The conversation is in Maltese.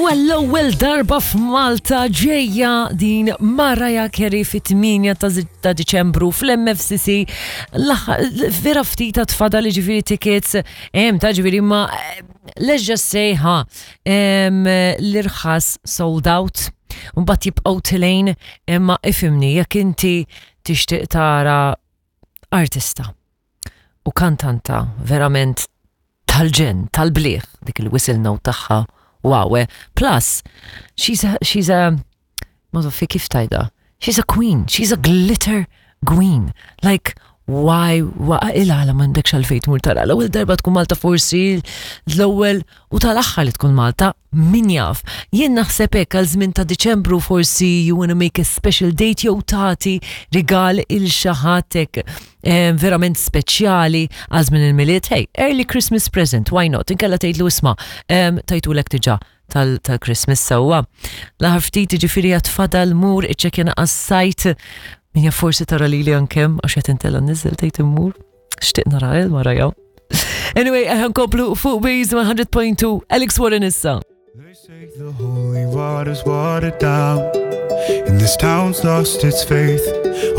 U għall-ewwel darba f'Malta ġejja din Mariah Carey fit-8 ta' Diċembru fl-MFCC. Vera ftit tfadal ġifieri tickets hemm ta' ġifieri ma let's just say ha l-irħas sold out. Mbagħad jibqgħu tilejn imma ifimni jekk inti tixtieq tara artista u kantanta verament tal-ġenn, tal-bliħ, dik il-whistle note tagħha, wow, eh. Plus, she's a, she's a, ma fi kif tajda, she's a queen, she's a glitter queen. Like, why, why, ila għala mandekx għalfejn tmur tara. L-ewwel darba tkun Malta forsi, l-ewwel u tal-aħħar li tkun Malta, min jaf. Jien naħseb hekk għal żmien ta' Diċembru forsi you wanna make a special date jew tagħti rigal il xi ħadd hekk verament speċjali għal żmien il-Milied. Hey, early Christmas present, why not? Inkella tgħidlu isma' tajtulek diġà tal-Christmas sewwa. L-aħħar ftit ġifieri għad fadal mur iċċekkja għas-sajt min jaf forsi tara lili ankem għax qed intella niżel tgħid immur. Xtieq nara il Mariah. Anyway, eħan komplu fuq Waze 100.2 Alex Warren issa. They say the holy water's watered down, and this town's lost its faith.